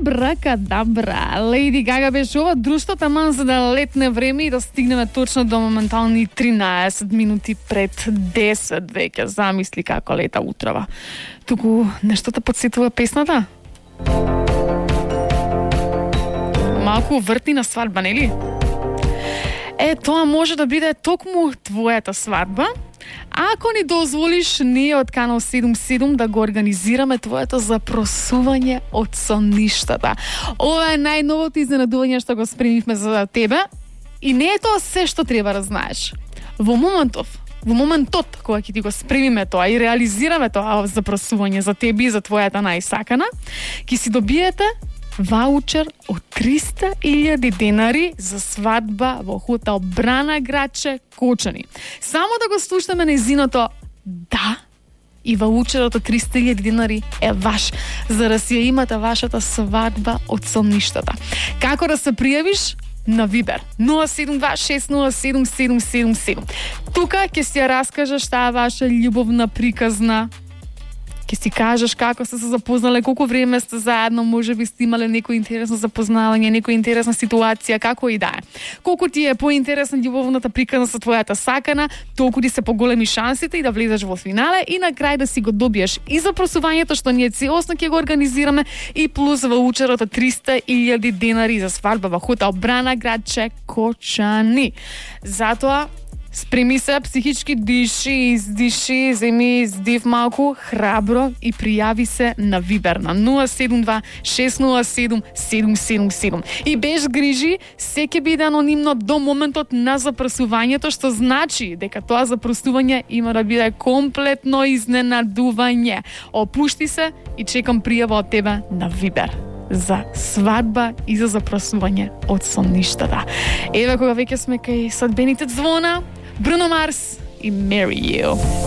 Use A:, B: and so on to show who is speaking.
A: Абракадабра. Леди Гага беше ова друштво таман за да летне време и да стигнеме точно до моментални 13 минути пред 10 веќе. Замисли како лета утрава. Туку нешто те подсетува песната? Малку вртни на свадба, нели? Тоа може да биде токму твојата свадба. Ако ни дозволиш, ние од Канал 77 да го организираме твоето запросување од сонништата. Ова е најновото изненадување што го спремивме за тебе и не е тоа се што треба да знаеш. Во моментот кога ќе ти го спремиме тоа и реализираме тоа запросување за тебе и за твојата најсакана, ќе си добиете ваучер од 300.000 денари за свадба во хотел Брана Граче, Кочани. Само да го слушнеме нејзиното да и ваучерот од 300.000 денари е ваш, за да си ја имате вашата свадба од сонништата. Како да се пријавиш? На Вибер 072-607-777. Тука ќе си ја раскажеш таа ваша љубовна приказна. Ќе си кажеш како сте се запознале, колку време сте заедно, можеби сте имале некој интересно запознавање, некоја интересна ситуација, како и да е. Колку ти е поинтересна љубовната приказна со твојата сакана, толку ти се поголеми шансите и да влезеш во финале и на крај да си го добиеш и запросувањето што ние целосно ќе го организираме и плюс ваучерот од 300.000 денари за свадба во хотел Брана Граче, Кочани. Затоа спреми се, психички диши, издиши, земи издив малку, храбро и пријави се на Вибер на 072-607-777. И без грижи, се ќе биде анонимно до моментот на запросувањето, што значи дека тоа запросување има да биде комплетно изненадување. Опушти се и чекам пријава од тебе на Вибер за свадба и за запросување од сонништата. Еве кога веќе сме кај свадбените звона, Bruno Mars и Marry You.